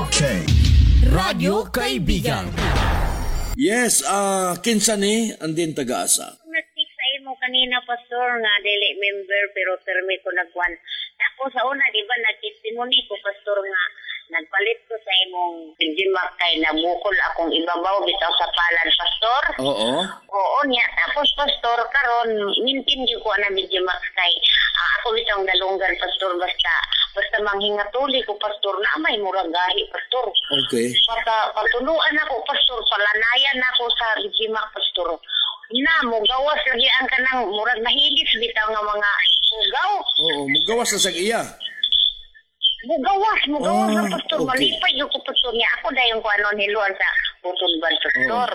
RK. Radyo Kaibigan. Yes, kinsa ni andin taga-asa? Nag-speak sa imo kanina, Pastor, nga dili member pero permi ko nagkuan. Tapos sa una, di ba, nag-testimony ko, Pastor, nga nagpalit ko sa imong Dimak kay nabukol akong ibabaw bitaw sa palad, Pastor. Oo. Oo niya. Tapos, Pastor, karon mintin gyud ko ana Dimak kay ako bitang dalunggan, Pastor, basta basta manghingatuli ko, Pastor, na may murag gahi, Pastor. Pata, patuluan ako, Pastor, palanayan ako sa Dimak, Pastor. Na, mugawas lagi ang kanang murag nahilis bitaw nga mga mugaw. Oo, mugawas na sa iya. Mugawas, mugawas na, Pastor. Malipay yung ko, Pastor, niya. Ako dayon ko ano niluan sa butulban, Pastor.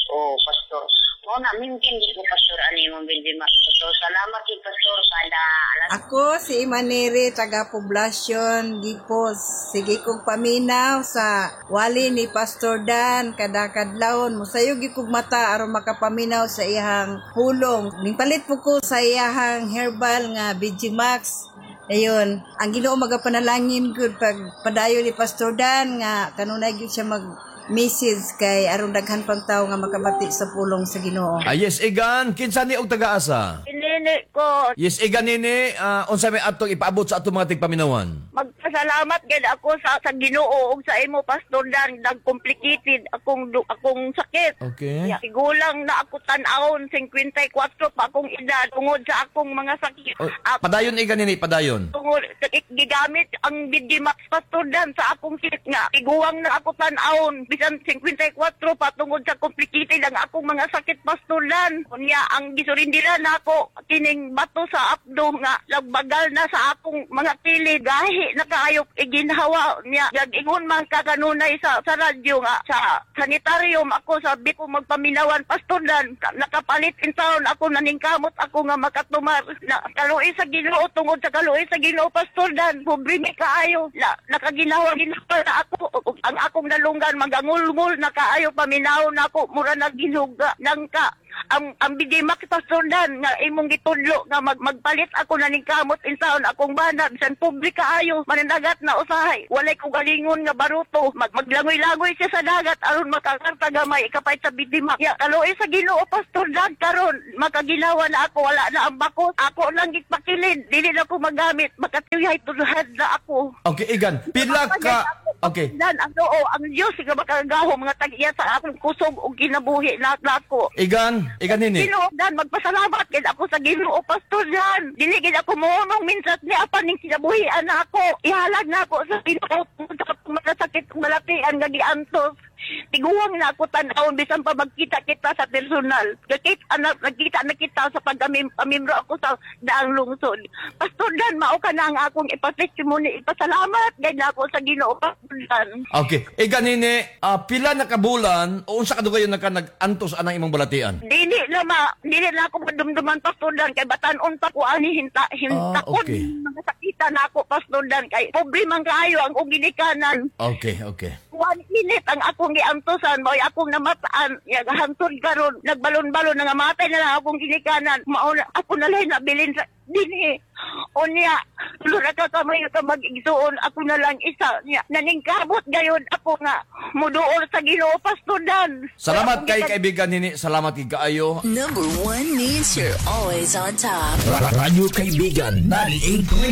Oh, Pastor. Mo na mintin di ko, Pastor, ano yung Dimak, Pastor. Salamat kay Pastor kada alas Ako si Imanere, taga Poblasyon, Gipos. Sige kong paminaw sa wali ni Pastor Dan, kada kadlawon. Musayog gyud kog mata aron makapaminaw sa iyang pulong. Ningpalit po ko sa iyahang herbal nga BG Max. Ayun, ang Ginoo magapanalangin gud pag padayon ni Pastor Dan nga kanunay gyud siya mag message kay aron daghan pang tawo nga makabati sa pulong sa Ginoo. Ah, yes, Igan, kinsa ni og taga-asa? Inini ko, Yes, Igan nini, unsa may atong ipaabot sa atong mga tigpaminawan? Magpasalamat gid ako sa Ginoo ug sa imo, Pastor Dan, nag-complicated akong sakit. Yeah, Tigulang na ako tan-awon, 54 pa akong edad tungod sa akong mga sakit. Oh, padayon, Igan nini, padayon. Tungod gigamit ang Bidimax, Pastor Dan, sa akong sakit nga tiguang na ako tan-awon bisan 54 pa tungod sa complicated ang akong mga sakit, Pastor Dan. Unya ang gisurindira nako kining bato sa apdo nga nagbagal na sa akong mga kilid, gahi na kaayo iginhawa niya. Ingon man ka kanunay sa radyo nga sa sanitarium ako, sabi ko magpaminawan, Pastor Dan, nakapalit in town ako, naningkamot ako nga makatumar na kaluoy sa Ginoo. Tungod sa kaluoy sa Ginoo, Pastor Dan, pobre mi kaayo na nakaginawa ginawa na ako ang akong nalunggan, magangulngul na kaayo paminaw na ako, mura na ginuga nangka ang Bidimax, Pastor Dan, nga imong gitudlo nga magpalit ako, naningkamot in town akong bana bisan pobre kaayo, mananagat na usahay, walay ko galingon nga baruto, maglangoy-langoy siya sa dagat aron makakarta gamay ikapay sa Bidimax. Ya, kaluoy sa Ginoo, Pastor Dan, karon makaginawa na ako, wala na ang bako ako lang gipakilid, dili na ko magamit, makatiyay tulad na ako. Okay, Igan, pila ka. Okay. Dan ang oo, ang Dios nga makagahom nga tag-iya sa akong kusog ug kinabuhi na ako. Igan, Igan nini. Ginoo Dan, magpasalamat gid ako sa Ginoo, Pastor Dan. Dili gid ako mounong minsat ni apan ning kinabuhian na ako. Ihalag na ako sa Ginoo sa akong mga sakit ug malatian nga giantos. Tiguang na ako tan-awon bisan pa magkita kita sa personal. Gakit anak nagkita na kita sa pagkamimro ako sa daang lungsod. Pastor Dan, mao ka na ang akong ipatestimony, ipasalamat gid na ako sa Ginoo, Pastor Dan. Okay. Igan nini, pila na ka bulan o unsa kadugayon na ka nag-antos anang imong balatian? Dili na ako madumduman, Pastor Dan, kay batan-on pa ko ani hinta hintakon mga sakitan na ako, Pastor Dan, kay pobre man kaayo ang ginikanan. Okay. 1 minute ang akong giantosan, mao'y akong namataan ya hantod karon nagbalon-balon na nga matay na lang akong ginikanan, mao na ako na lang nabilin sa dinhi. Unya tulo ra ka kamay ka mag-igsuon, ako na lang isa niya naningkamot gayon ako nga muduol sa Ginoo, Pastor Dan. Salamat kay kaibigan nini, salamat kay kaayo. Number one means you're always on top. Radyo Kaibigan 98.5.